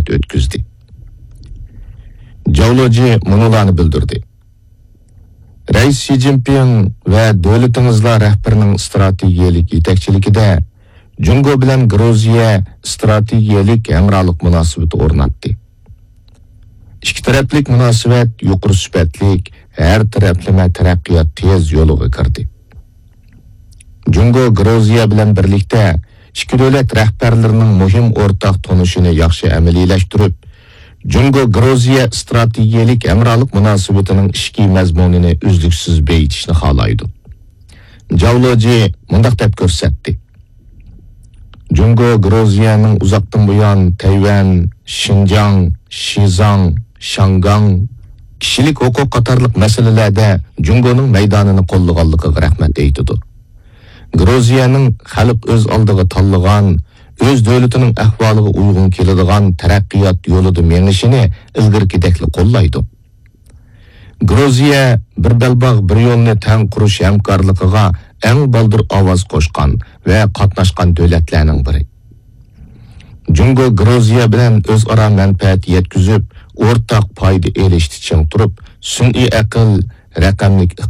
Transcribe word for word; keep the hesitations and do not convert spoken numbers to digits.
سۆھبەت ئۆتكۈزدى. جاۋ لېجى مۇنۇلارنى بىلدۈردى: رەئىس شى جىنپىڭ ۋە دۆلىتىڭىزلار رەھبىرىنىڭ ئىستراتېگىيەلىك يېتەكچىلىكىدە جۇڭگو بىلەن گرۇزىيە ئىستراتېگىيەلىك ھەمراھلىق مۇناسىۋىتى ئورناتتى. ئىككى تەرەپلىك مۇناسىۋەت يۇقىرى سۈپەتلىك، ھەر تەرەپلىمە تەرەققىيات تېز يولىغا كىردى. جۇڭگو گرۇزىيە بىلەن بىرلىكتە ئىككى دۆلەت رەھبەرلىرىنىڭ مۇھىم ئورتاق تونۇشىنى ياخشى ئەمەلىيلەشتۈرۈپ، جۇڭگو گرۇزىيە ئىستراتېگىيەلىك ھەمراھلىق مۇناسىۋىتىنىڭ ئىچكى مەزمۇنىنى ئۈزلۈكسىز بېيىتىشنى خالايدۇ. جاۋ لېجى مۇنداق دەپ كۆرسەتتى: جۇڭگو گرۇزىيەنىڭ ئۇزاقتىن بۇيان تەيۋەن، شىنجاڭ، شىزاڭ، شياڭگاڭ، كىشىلىك ھوقۇق قاتارلىق مەسىلىلەردە جۇڭگونىڭ مەيدانىنى قوللىغانلىقىغا رەھمەت ئېيتىدۇ. گرۇزىيەنىڭ خەلق ئۆز ئالدىغا تاللىغان، ئۆز دۆلىتىنىڭ ئەھۋالىغا ئۇيغۇن كېلىدىغان تەرەققىيات يولىدا مېڭىشىنى ئىلگىرىكىدەكلا قوللايدۇ. گرۇزىيە بىر بەلباغ، بىر يولنى تەڭ قۇرۇش ھەمكارلىقىغا ئەڭ بالدۇر ئاۋاز قوشقان ۋە قاتناشقان دۆلەتلەرنىڭ بىرى. جۇڭگو گرۇزىيە بىلەن ئۆزئارا مەنپەئەت يەتكۈزۈپ، ئورتاق پايدا ئېلىشتا چىڭ تۇرۇپ، سۈنئىي ئەقىل، رەقەملىك